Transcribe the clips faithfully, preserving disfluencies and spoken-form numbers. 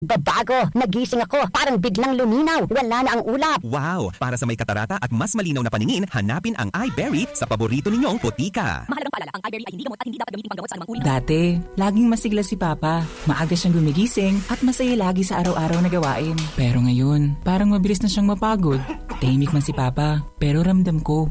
Babago, nagising ako, parang biglang luminaw, wala na ang ulap. Wow! Para sa may katarata at mas malinaw na paningin, hanapin ang Eyeberry sa paborito ninyong botika. Mahalagang paalala, ang Eyeberry ay hindi gamot at hindi dapat gamitin panggamot sa anumang uri ng Dati, laging masigla si Papa. Maaga siyang gumigising at masaya lagi sa araw-araw na gawain. Pero ngayon, parang mabilis na siyang mapagod. Tahimik man si Papa, pero ramdam ko.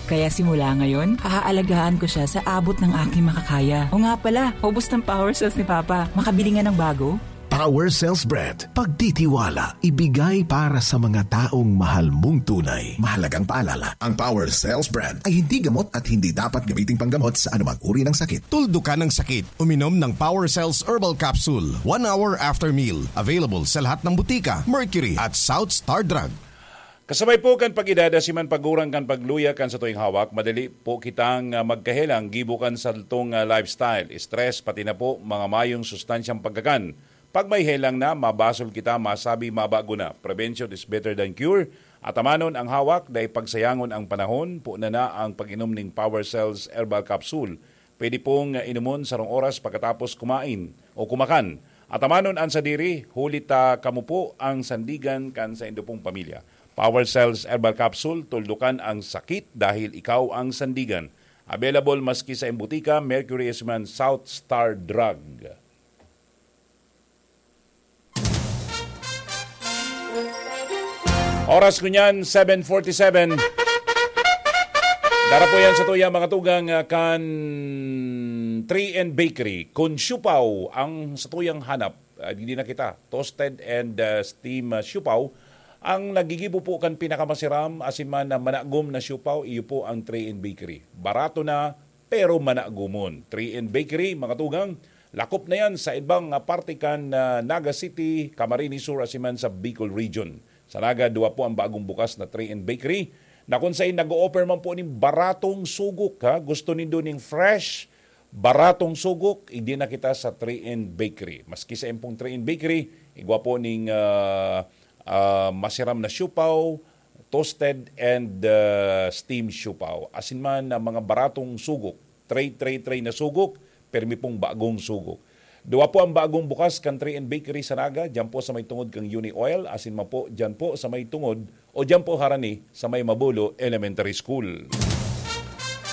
Kaya simula ngayon, hahaalagaan ko siya sa abot ng aking makakaya. O nga pala, ubos ng power cells ni Papa. Makabili nga ng bago? Power Cells Brand. Pagtitiwala, ibigay para sa mga taong mahal mong tunay. Mahalagang paalala, ang Power Cells Brand ay hindi gamot at hindi dapat gamiting panggamot sa anumang uri ng sakit. Tuldukan ng sakit. Uminom ng Power Cells Herbal Capsule one hour after meal. Available sa lahat ng butika, Mercury at South Star Drug. Kasabay po kan pag-edad, asiman pagurang kan pagluya kan satuyang hawak, madali po kitang, ah, magkahelang gibo kan satong, ah, lifestyle, stress, pati na po mga mayong sustansyang pagkakan. Pag may helang na, mabasol kita, masabi, mabago na. Prevention is better than cure. Atamanon ang hawak, dai pagsayangon ang panahon, po na na ang pag-inom ning Power Cells Herbal Capsule. Pwede pong, ah, inumon sarong oras pagkatapos kumain o kumakan. Atamanon an sadiri, huli ta kamo po ang sandigan kan saindo pong pamilya. Power Cells Herbal Capsule, tuldukan ang sakit dahil ikaw ang sandigan. Available maski sa butika, Mercury Esman, South Star Drug. Oras ko niyan, seven forty-seven. Dara po yan sa tuya, mga tugang, ah, kan three N Bakery. Kung siupaw ang satuyang hanap, ah, di na kita. Toasted and, ah, steam, ah, siupaw. Ang nagigibo po kan pinakamasiram, asin man na managom na siupaw, iyo po ang three N Bakery. Barato na, pero managomon. Three N Bakery, mga tugang, lakop na yan sa ibang, ah, parte kan, ah, Naga City, Camarines Sur, asin man sa Bicol Region. Sa Naga, duwa po ang bagong bukas na three N Bakery, na kung saan nag-o-offer man po ning baratong sugok, ha? Gusto nindo ning fresh, baratong sugok, igdi na kita sa three N Bakery. Maski sa impong three N Bakery, igwa po ning, ah, ah, masiram na siupaw, toasted and, ah, steam siupaw. Asin man ang mga baratong sugok, tray, tray, tray na sugok, permi pong bagong sugok. Duwa po ang bagong bukas kan three N Bakery sa Naga, diyan po sa may tungod kang Uni Oil, asin man po diyan po sa may tungod o diyan po harani sa may Mabulo Elementary School.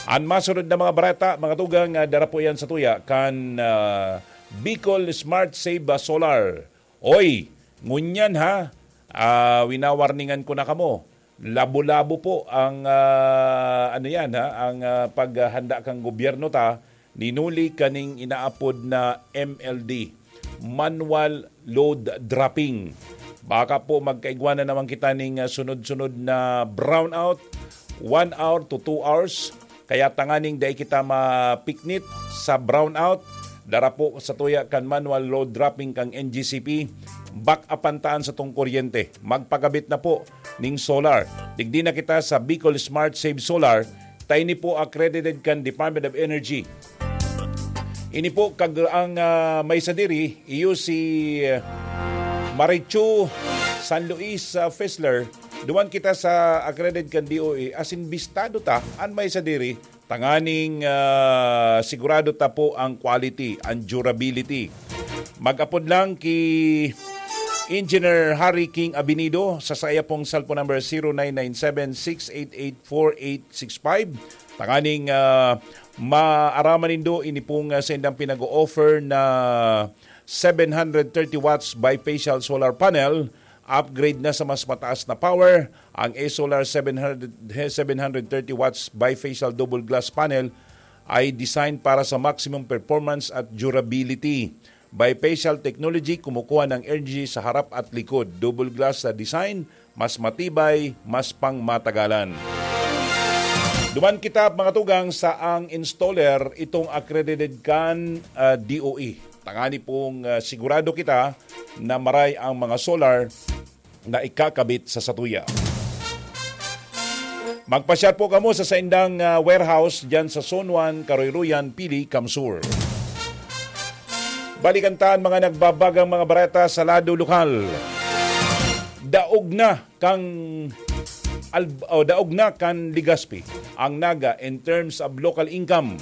An masunod na mga bareta, mga tugang, ah, dara po yan sa tuya kan, ah, Bicol Smart Save, ah, Solar. Oy, ngunyan ha, ah, winawarningan ko na kamo. Labo-labo po ang, ah, ano yan ha, ang, ah, paghahanda kan gobyerno ta, ninuli kaning inaapod na M L D, manual load dropping. Baka po magkaigwa na naman kita ning, ah, sunod-sunod na brownout, one hour to two hours. Kaya tanganing dai kita mapiknit sa brownout, dara po sa tuya kan manual load dropping kang N G C P, back upan ta an satong kuryente. Magpakabit na po ning solar. Digdi na kita sa Bicol Smart Save Solar, ta ini po accredited kan Department of Energy. Ini po kag ang, ah, may sadiri, iyo si, ah, Marichu San Luis, ah, Fisler. Duman kita sa accredited kan D O E, asin bistado ta an may sadiri, tanganing, ah, sigurado ta po ang quality, ang durability. Mag-apod lang ki Engineer Harry King Abinido sa saya pong cellphone number zero nine nine seven six eight eight four eight six five. Tanganing, ah, maaraman nindo ini pong, ah, sa indang pinag-o-offer na seven hundred thirty watts bifacial solar panel, upgrade na sa mas mataas na power. Ang A-Solar seven hundred, seven hundred thirty watts bifacial double glass panel ay design para sa maximum performance at durability. Bifacial technology, kumukuha ng energy sa harap at likod. Double glass sa design, mas matibay, mas pangmatagalan. Duman kita, mga tugang, sa ang installer, itong accredited kan, ah, D O E. Tangani pong, ah, sigurado kita na maray ang mga solar na ikakabit sa satuya. Magpasyal po kamo sa saindang, ah, warehouse diyan sa Zone one, Karoyroyan, Pili, Kamsur. Balikan ta an mga nagbabagang mga bareta sa lado lokal. Daog na kan Al-, o, daog na kan Legazpi ang Naga in terms of local income.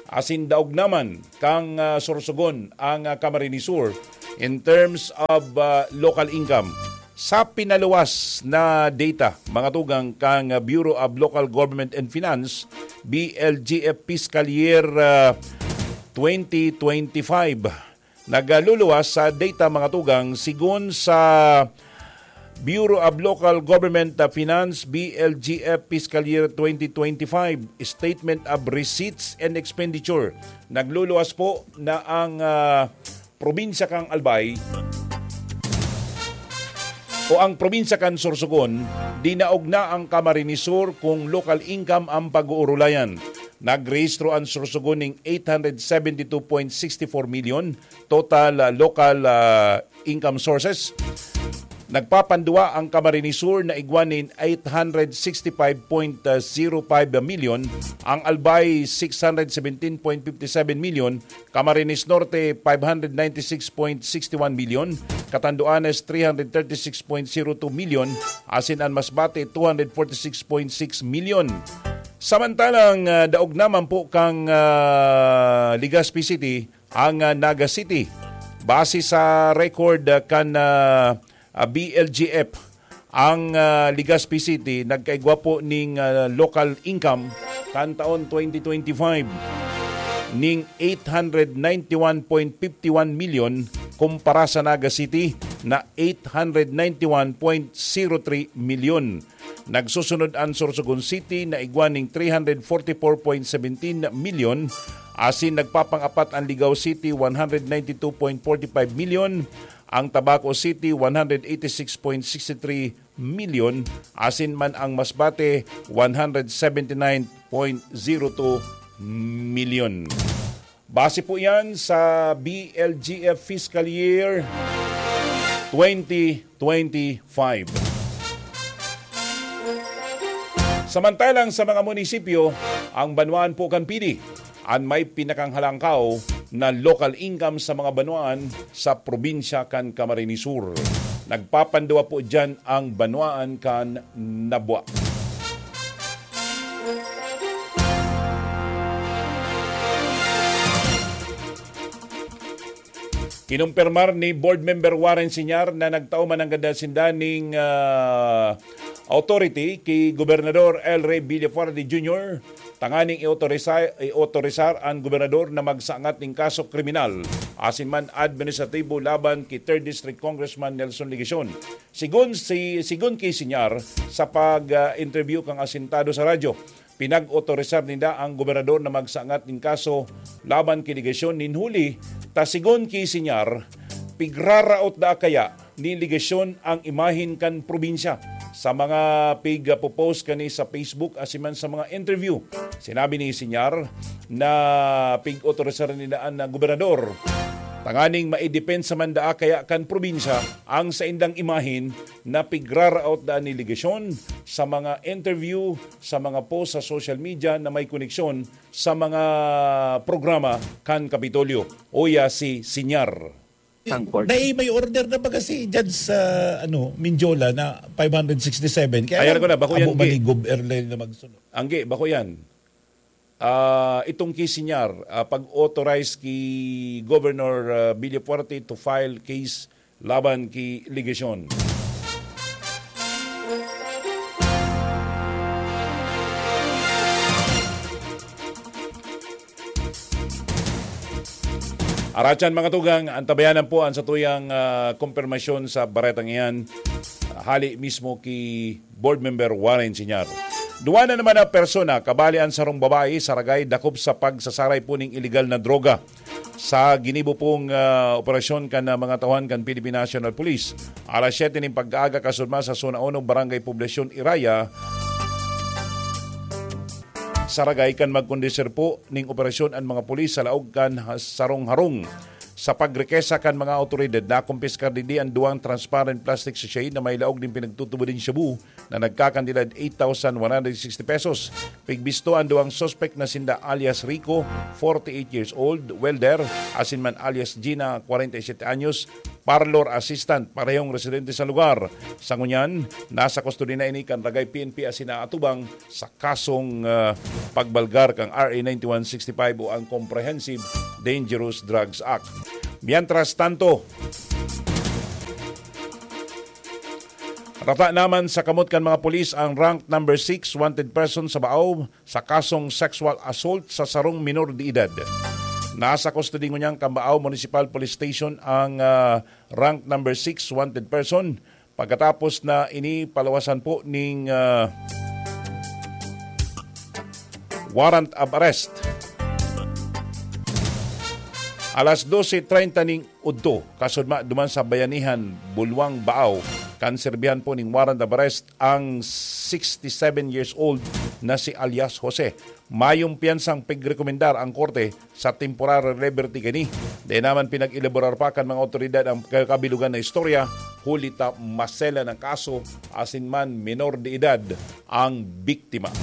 Asin daog naman kan, ah, Sorsogon ang, ah, Camarines Sur. in terms of uh, local income. Sa pinaluwas na data, mga tugang, kan Bureau of Local Government and Finance, B L G F, fiscal year uh, twenty twenty-five. Nagluluwas sa data, mga tugang, sigon sa Bureau of Local Government uh, Finance, B L G F, fiscal year twenty twenty-five, Statement of Receipts and Expenditure. Nagluluwas po na ang uh, probinsya kan Albay o ang probinsya kan Sorsogon, dinaog na ang Camarines Sur kung local income ang pag-uurulayan. Nagrehistro ang Sorsogon ning eight hundred seventy two point six four million total uh, local uh, income sources. Nagpapanduwa ang Camarines Sur na igwa nin eight hundred sixty five point zero five million, ang Albay six hundred seventeen point fifty seven million, Camarines Norte five hundred ninety six point six one million, Catanduanes three hundred thirty six point zero two million, asin an Masbate two hundred forty six point six million. Samantalang uh, daog naman po kang uh, Legazpi City ang uh, Naga City. Base sa record uh, kan uh, uh, B L G F, ang uh, Legazpi City nagkaigwa po ning uh, local income kan taon twenty twenty-five ning eight hundred ninety-one point fifty-one million, kumpara sa Naga City na eight hundred ninety-one point zero three million. Nagsusunod an Sorsogon City na igwa ning three hundred forty-four point seventeen million, asin nagpapang-apat an Ligao City, one hundred ninety two point forty five million, ang Tabaco City, one hundred eighty six point sixty three million, asin man ang Masbate, one hundred seventy nine point zero two million. Base po yan sa B L G F fiscal year twenty twenty-five. Samantalang sa mga munisipyo, ang banwaan po kan Pili an may pinakanghalangkaw na local income sa mga banwaan sa probinsya kan Camarines Sur. Nagpapanduwa po diyan ang banwaan kan Nabua. Kinumpirmar ni Board Member Warren Senior na nagtao man nanggad sinda ning ah, authority ki Gobernador El Rey Villafuerte Junior tanganing i-autorisa-, i-autorisar an gobernador na magsangat nin kaso kriminal asin man administratibo laban ki Third District Congressman Nelson Legacion. Sigon si sigon ki Senior sa pag-interview kan asintado sa radyo, pinag-otorisar ninda ang gobernador na magsangat nin kaso laban ki Legacion nin huli ta sigon ki Senior, pigraraot daa kaya ni Legacion ang imahen kan probinsya sa mga pig-popost kani sa Facebook asin man sa mga interview. Sinabi ni Senior na pig-otorisar ninda an gobernador tanganing maidepensa man daa kaya kan probinsya ang saindang imahen na pigraraot daa ni Legacion sa mga interview, sa mga post sa social media na may koneksyon sa mga programa kan Kapitolyo. Uya si Senior. Tangkol. Dai may order na baga si Judge sa, ano, Mendiola na five hundred sixty-seven. Kaya Ayan lang, ko na, bako yan, abo ba Gi. ni Gob Erlel na magsunod? Angge, bako yan. Ah, itong ki Senior, ah, pag-authorize ki Governor ah, Villafuerte to file case laban ki Legacion. Arachan, mga tugang, antabayanan po ang satuyang ah, kompirmasyon sa baretang iyan, ah, hali mismo ki Board Member Warren Senior. Duwa na naman na persona, kabali an sarong babae, saragay dakop sa pagsasaray po ning iligal na droga. Sa ginibo pong ah, operasyon kan ah, mga tauhan kan Philippine National Police, alas siyete nin pagkaaga, kasunod man sa Zona Uno, Barangay Poblacion Iraya, saragay kan magkondusir po ning operasyon an mga pulis sa laog kan ha-, sarong harong. Sa pagrikesa kan mga awtoridad, nakumpiskar digdi an duwang transparent plastic sachet na may laog nin pinagtutubod nin shabu na nagkakantidad eight thousand one hundred sixty pesos. Pigbisto an duwang suspek na sinda alias Rico, forty-eight years old, welder, asin man alias Gina, forty-seven anyos, parlor assistant, parehong residente sa lugar. Sa ngunyan, nasa kustodiya na ini kan Ragay P N P asin naatubang sa kasong ah, pagbalgar kan R A ninety-one sixty-five o ang Comprehensive Dangerous Drugs Act. Mientras tanto, Rata naman sa kamot kan mga pulis ang rank number six wanted person sa Baao sa kasong sexual assault sa sarong minor de edad. Nasa kustodi ngunyan kan Baao Municipal Police Station ang ah, rank number six wanted person pagkatapos na ini palawasan po ning ah, warrant of arrest. Alas dose treinta ning udto, kasudma duman sa Bayanihan, Bulwang, Baao, kan serbihan po ning warrant of arrest ang sixty-seven years old na si alias Jose. Mayong piyansang pigrekomendar ang korte sa temporary liberty kini. Dai naman pinag-elaborar pa kan mga otoridad ang kabilugan na istorya, huli ta maselan ang kaso, asin man minor de edad ang biktima.